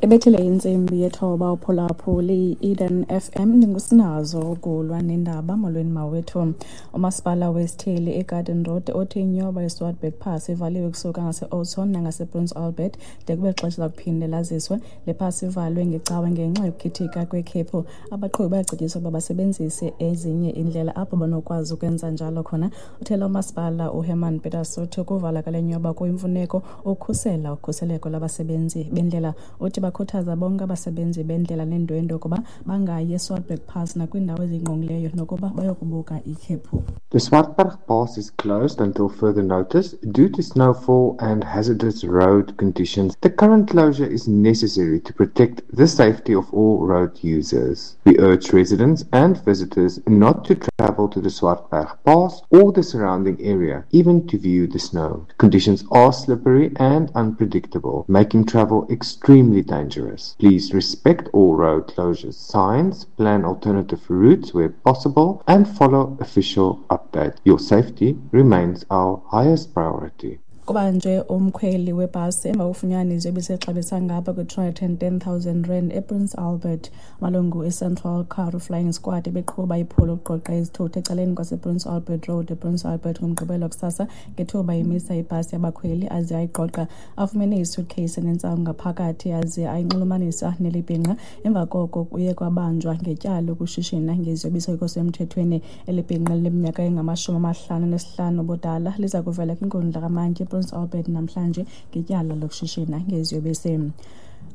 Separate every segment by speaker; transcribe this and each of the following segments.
Speaker 1: Ibethile intsimbi yethoba uphulaphuli Eden FM, ndingusinazo ukulwa nendaba. Molweni mawethu. Umasipala wesithili iGarden Road uthi inyoba iSwartberg Pass ivaliwe kusuka ngase-Oudtshoorn nangasePrince Albert de kube xesha lakuphinde laziswe. Le pass ivalwe ngecawe ngenxa yokukhithika kwekhephu. Abaqhubi bayacetyiswa ukuba basebenzise ezinye iindlela apho banokwazi ukwenza njalo khona. Uthela umasipala uHerman Peters uthi ukuvala kwale nyoba kuyimfuneko ukukhusela ukhuseleko lwabasebenzi bendlela. Uthi bakhuthaza bonke abasebenzi bendlela neendwendwe ukuba bangayi eSwartberg Pass nakwiindawo ezingqongileyo nokuba bayokubuka ikhephu.
Speaker 2: The Swartberg Pass is closed until further notice due to snowfall and hazardous road conditions. The current closure is necessary to protect the safety of all road users. We urge residents and visitors not to travel to the Swartberg Pass or the surrounding area, even to view the snow. Conditions are slippery and unpredictable, making travel extremely dangerous. Please respect all road closure signs, plan alternative routes where possible, and follow official updates. Your safety remains our highest priority.
Speaker 1: Kubanjwe umkhweli webhasi emva kokufunyaniswa ebisexabisa ngapha kwe-210 000 rand ePrince Albert. Amalungu eCentral Karoo Flying Squad ebeqhuba iphulo lokuqoqa izithuthi ecaleni kwasePrince Albert Road ePrince Albert ngoMgqibelo kusasa ngethuba imisa ibhasi yabakhweli aze ayiqoqa. Afumene isuitcase enentsangu ngaphakathi aze ayinxulumanisa neli bhinqa. Emva koko kuye kwabanjwa ngetyala lokushishina ngeziyobisi okungekho semthethweni. Eli bhinqa lineminyaka engama-55 ubudala liza kuvela kwinkundla kamantyi ePrince Albert namhlanje ngetyala lokushishina ngeziyobisi.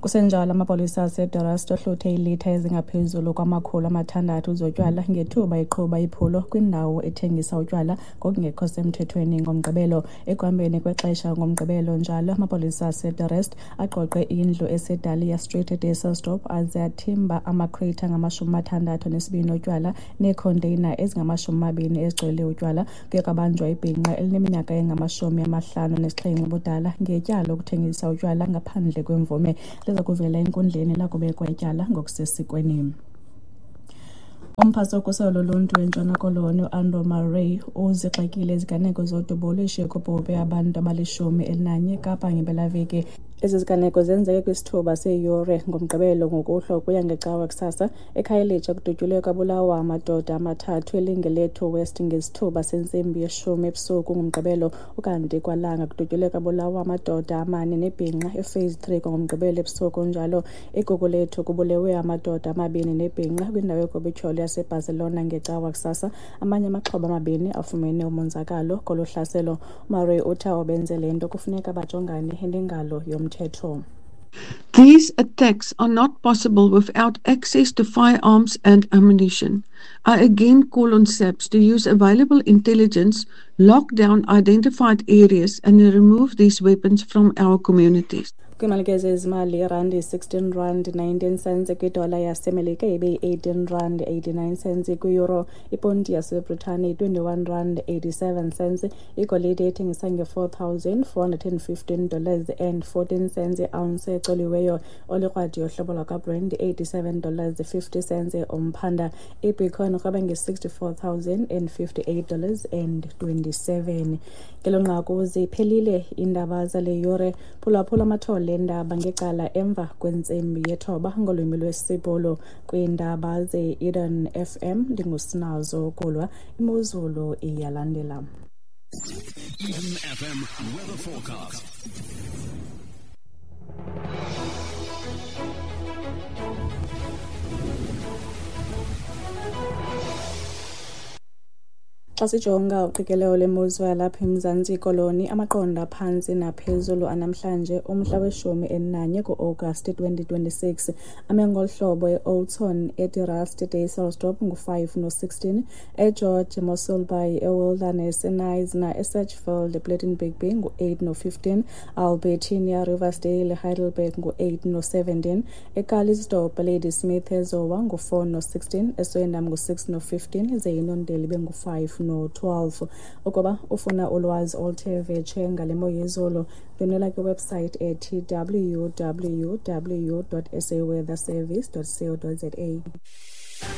Speaker 1: Kusenjalo, amapolisa aseDe Rust ohluthe iilitha ezingaphezulu kwama-600 zotywala ngethuba eqhuba iphulo kwindawo ethengisa utywala ngokungekho semthethweni ngoMgqibelo. Ekuhambeni kwexesha ngoMgqibelo njalo, amapolisa aseDe Rust aqoqe indlu eseDalia Street eDysselsdorp aze athimba amakhreythi angama-62 otywala neekhonteyina ezingama-20 ezigcwele utywala. Kuye kwabanjwa ibhinqa elineminyaka engama-57 ubudala ngetyala lokuthengisa utywala ngaphandle kwemvume. Liza kuvela enkundleni lakubekwa ityala ngokusesikweni. Umphathi wokhuselo loluntu eNtshona Koloni uAndrew Murray uzigxekile iziganeko zodubulo eshiye kubhubhe abantu abali-11 eKapa ngempelaveki. Ezi ziganeko zenzeke kwisithuba seeyure ngoMgqibelo ngokuhlwa ukuya ngeCawa kusasa. EKhayelitsha kudutyulwe kwabulawa amadoda amathathu eLingelethu West ngesithuba sentsimbi yeshumi ebusuku ngoMgqibelo. Ukanti kwaLanga kudutyulwe kwabulawa amadoda amane nebhinqa ePhase 3 kwangoMgqibelo ebusuku njalo. EGugulethu kubulewe amadoda amabini nebhinqa kwindawo yogobityholo yaseBarcelona ngeCawa kusasa. Amanye amaxhoba amabini afumene umonzakalo kolu hlaselo. UMurray uthi abo benze le nto kufuneka bajongane nengalo yomthetho.
Speaker 3: These attacks are not possible without access to firearms and ammunition. I again call on SAPS to use available intelligence, lock down identified areas and remove these weapons from our communities.
Speaker 1: Kwiimalike zezimali, irandi 16 rand 19 cents kwidola yaseMelika, ibe yi-18 rand 89 cents kwiyuro. Iponti yaseBritane yi-21 rand 87 cents. Igolide ithengisa nge-$4,415 and 14 cents iounce ecoliweyo. Olikrwadi yohlobo lwakwaBrent $87 50 cents umphanda. Ibitcoin irhweba nge-$64,058 and 27. Ngelo nqaku ziphelile iindaba zale yure. Phulaphula amathole eendaba ngecala emva kwentsimbi yethoba ngolwimi lwesiBhulu kwiindaba ze-Eden FM. Ndingusinazo Kulwa. Imozulu iyalandela.
Speaker 4: Eden FM weather forecast.
Speaker 1: Xa sijonga uqikelelo lwemozulu yalapha eMzantsi Koloni, amaqondo aphantsi naphezulu anamhlanje umhla we-11 kuAgasti 2026 ame ngolu hlobo: eOudtshoorn, eDe Rust, eDysselsdorp ngu-5 no-16, eGeorge, eMossel Bay, eWilderness, eKnysna, eSedgefield, ePlettenberg Bay ngu-8 no-15, Albertinia, Riversdale, Heidelberg ngu-8 no-17, eCalitzdorp, Ladysmith, eZowa ngu-4 no-16, eSwellendam ngu-6 no-15, ze iNondeli ibe ngu-5 no-12. Ukuba ufuna ulwazi oluthe vetshe ngale mo yezulu, ndwendwela kwiwebsite ethi www.saweatherservice.co.za.